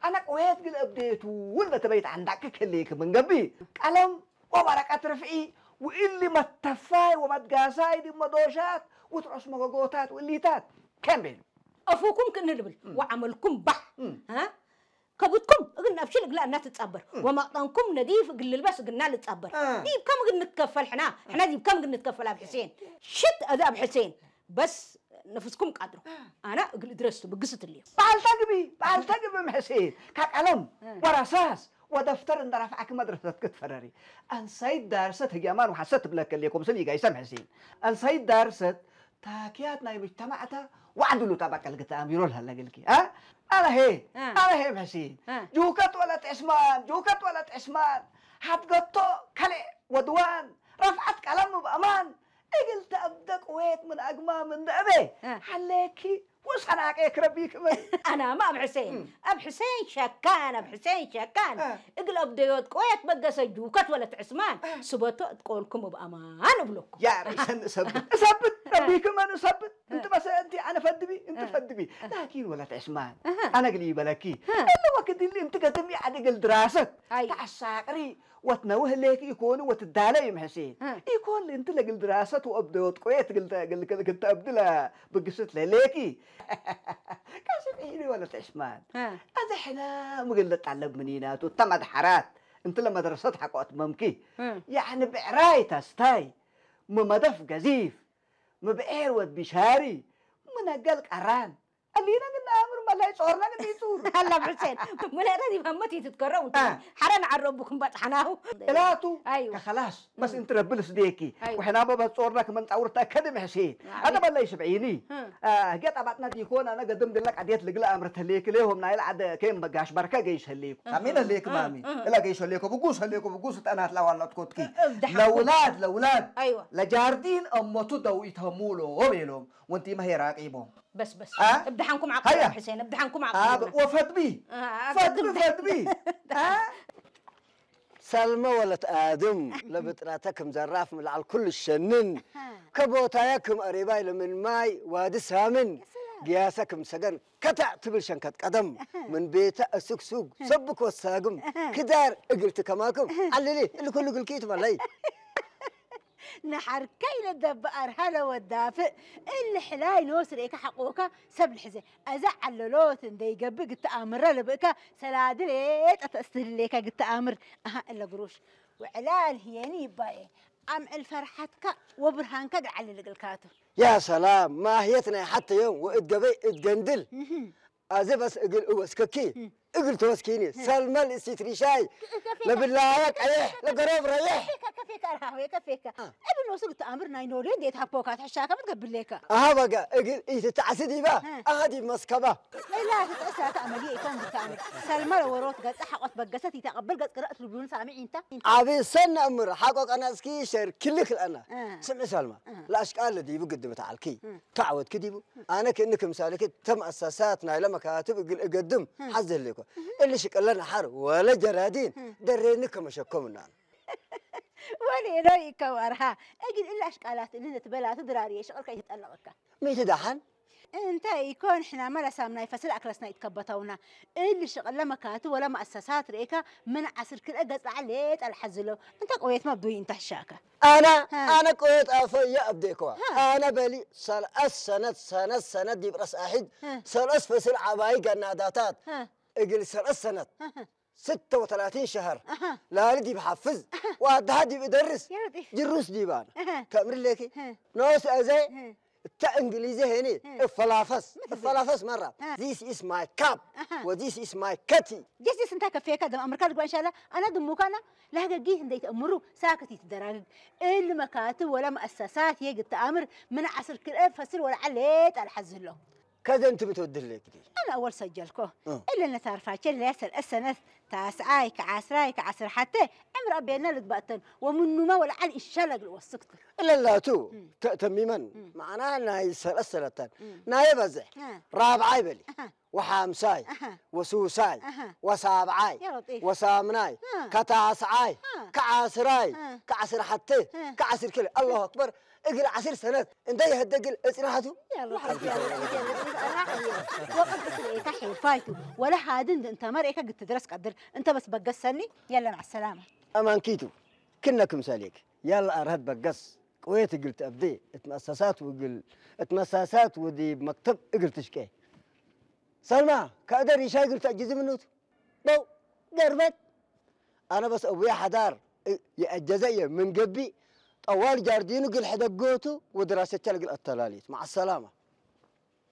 ኣነ ቅዌት ግን እብዴቱ እውን ለተበይት ዓንዳቂ ክልክ ምን ገቢ ቀለም ወወረቀት ርፍዒ ውእሊ መተፋይ ወመትጋሳይ ድመዶሻት ውትሮስ መጎጎታት ውእሊታት ከም ቤሉ። أفوكم كن البل وعملكم بح ها كبتكم እግል ኣብሽል እግላ እና ትጻበር ወማቅጠንኩም ነዲፍ እግል ልበስ እግልና ልጻበር ዲብ ከም እግል ንትከፈል ሕና ሕና ዲብ ከም እግል ንትከፈል ኣብ ሕሴን ሽት እዚ ኣብ ሕሴን በስ ነፍስኩም ቃድሮ ኣና እግል እድረስቱ ብግስት እልዮ በዓል ተግቢ በዓል ተግቢ ምሕሴን ካብ ቀለም ወረሳስ ወደፍተር እንደረፍዓኪ መድረሰት ክትፈረሪ ኣንሳይት ዳርሰት ህግያማን ወሓሰት ትብለከልኩም ስል ይጋይሰ ምሕሴን ኣንሳይት ዳርሰት ታክያት ናይ ምጅተማዕታ ዋዕድሉ ጠበቀል ግተኣምቢሮ ልሃለግልኪ ኣለሄ ኣለሄ ምሕሴን ጁከት ወለት ዕስማን ጁከት ወለት ዕስማን ሓድገቶ ከልዕ ወድዋን ረፍዓት ቀለም ብኣማን እግል ተእብደ ቅዌት ምን ኣግማ ምን ደእቤ ሓሌኪ ወሰናቄ ክረቢ ክመን ኣናማ ኣብ ሕሴን ኣብ ሕሴን ሸካን ኣብ ሕሴን ሸካን እግል ኣብደዮት ቆየት በገሰ ጁከት ወለት ዕስማን ስበቶ እትቆልኩም ብኣማን እብለኩም ያ ርእሰን እሰብት እሰብት ረቢ ክመን እሰብት እንት መሰ እንቲ ኣነ ፈድቢ እንት ፈድቢ ላኪን ወለት ዕስማን ኣነ ግሊ ይበለኪ እለ ወክድሊ እንት ገድም ያዕዲ ግል ድራሰት ተዓሳቅሪ ወትነውህ ሌክ ኢኮኑ ወትዳለ ይምሕሲ ኢኮን እንቲ ለግል ድራሰት ወእብደ ወጥቆየ ትግል ክትተብድለ ብግስት ለሌኪ ቀስም ኢኒ ወለት ዕስማን ኣዘ ሕና ምግል ለጣለብ ምኒናቱ ተመድሓራት እንቲ ለመድረሰት ሓቆት መምኪ ያዕኒ ብዕራይ ታስታይ ምመደፍ ገዚፍ ምብዔር ወድ ቢሻሪ ምነገል ቀራን ألينا من أمر ما لا يصورنا من يصور هلا بحسين مليرة دي مهمتي تتكرر حرن عربكم بطحناه ثلاثة أيوة خلاص بس انت ربل سديكي أيوة. وحنا ما بتصورنا كمان تصور تأكد محسين هذا ما لا يشبعيني آه قد أبعتنا دي كون أنا قدم دلك عديت لقلا أمر تليك ليهم نايل عد كيم بقاش بركة جيش هليك أمين هليك مامي إلا جيش هليك بقوس هليك بقوس أنا لا والله تكوتكي لولاد لولاد أيوة لجاردين أمتو دو يتهمولو بيلهم وانتي ما هي راقيبهم بس بس ابدحنكم عقل يا حسين ابدحنكم عقل وفدبي فدبي فدبي ሰልመ ወለት ኣድም ለብጥራተ ክም ዘራፍ ምልዓል ኩሉ ሸንን ከቦታያ ክም ኣሬባይ ለምን ማይ ዋዲ ሳምን ግያሰ ክም ሰገን ከተዕ ትብል ሸንከት ቀደም ምን ቤተ እስግሱግ ሰብክ ወሳግም ክዳር እግልቲ ከማክም ዓልሊ እልኩሉ ግልኪ ትበለይ ንሓርከይ ለደብኣር ሃለ ወዳፍእ እሊ ሕላይ ኖስ ርእካ ሓቆካ ሰብ ልሕዘ ኣዛ ዓለሎት እንደይገብእ ግተኣምረ ልብእካ ሰላዲ ሌጠ ተእስትህልሌካ ግተኣምር ኣሃ እለ ግሩሽ ውዕላል ህየኒ ይባየ ኣምዕል ፈርሓትካ ወብርሃንካ ግዓሊ ልግልካቱ ያ ሰላም ማህየት ናይ ሓተዮም ወእት ገበይ እት ገንድል ኣዘ በስ እግል እወስከኪ እግል ተወስኪኒ ሰልመል እሲት ሪሻይ ለብላያ ቀየሕ ለገረብ ረየሕ ከፌካ ከፌካ ራሃወ ከፌካ እብን ወስግ ተኣምር ናይ ኖሌ እንዴት ሃፖካ ትሕሻካ ምትገብሌካ ኣሃ በጋ እግል ኢትተዓሲ ዲባ ኣሃ ዲብ መስከባ ሌላ ትጠሳ ተኣመል ኢኮን ብተኣምር ሰልመል ወሮት ገጽ ሓቆት በገሰት ይተቀብል ገጽ ቅረእት ልብሉን ሳሚዕ ኢንታ ዓቢ ሰን ኣምር ሓቆ ቀናጽኪ ሸር ክልክ ለአና ስምዒ ሰልማ ለኣሽቃለ ዲቡ ግድም ተዓልኪ ተዓወትኪ ዲቡ ኣነ ክእኒ ክምሳሌ ተመእሳሳት ናይለ መካትብ እግል እገድም ሓዝ ህሌኮ እሊ ሽቅለ ነሓር ወለ ጀራዲን ደሬኒ ከመሸኮምናን ወሌሎ ይከው ኣርሃ እግል እሊ ኣሽቃላት እሊ ነትበላቱ ድራርየ ሽቅል ከይትጠለቅካ ሚእቲ ደሓን እንታይ ይኮን ሕናማ ለሳምናይ ፈስል ኣክለስና ይትከበተውና እሊ ሽቅለ መካቱ ወለ መእሰሳት ርኤካ ምን ዓስር ክልኤ ገጽ ለዓል ሌጠ ለሓዝሎ እንተ ቅዌት መብዱይ እንተ ሕሻከ ኣነ ኣነ ቅወት ኣፈየ ኣብዴክዋ ኣነ በሊ ሰልአስ ሰነት ሰነት ሰነት ዲብ ረስ ኣሒድ ሰልአስ ፈስል ዓባይ ገናዳታት እግል ሰልአስ ሰነት ستة وثلاثين شهر ላሊ ዲብ ሓፍዝ ወኣድሃ ዲብ እደርስ ጅሩስ ዲባን ተእምር ሌኪ ኖስ ኣዘ እታ እንግሊዘ ሄኒ እፈላፈስ እፈላፈስ መራ this is my cup و this is my cutty ጀስቲስ እንታይ ከፍየካ ደም ኣምርካ ልግባ እንሻላ ኣና ድሙካና ላህገጊ እንደይ ተእምሩ ሳክት ይትደራግግ እል መካትብ ወላ መእሰሳት የግ ተኣምር ምን ዓስር ክልኤ ፈስል ወላ ዓሌ ጣልሓ ዝህሎ ከዘንትም ትወድለይ ግዲ ኣነ ኣወል ሰጀልኮ እለ ነታርፋቸ ለያ ሰልአት ሰነት ታስዓይ ከዓስራይ ከዓስር ሓተ ዕምር ኣቤልና ልግባእተን ወምኑማ ወለዓል ኢሻላ እግል ወስክቱ እለላቱ ተእተሚመን መዓና ናይ ሰለሰለተን ናይ በዝሕ ራብዓይ በሊ ወሓምሳይ ወሱሳይ ወሳብዓይ ወሳምናይ ከታስዓይ ከዓስራይ ከዓስር ሓተ ከዓስር ክልተ ኣላሁ ኣክበር እግል ዓስር ሰነት እንታይ ይህደግል እጽናሓቱ ወቅት ስለ ኤታ ሒፋይቱ ወላ ሃድን እንተ መርኤካ ግትድረስ ቀድር እንተ በስ በገሰኒ የለ ማዕ ሰላማ ኣማንኪቱ ክነ ክምሰሌክ ያላ ኣርሀት በገስ ቅዌት እግል ተእብዴ እትመእሰሳት ውግል እትመሳሳት ውዲ መክተብ እግል ትሽቄ ሰልማ ከእደ ሪሻይ እግል ተእጅዚ ምኑት በው ገርበት ኣነ በስ እቡየ ሓዳር የእጀዘየ ምን ገቢ ጠዋል ጃርዲኑ እግል ሕደጎቱ ወድራሰቻል እግል ኣተላልዩት ማዓ ሰላማ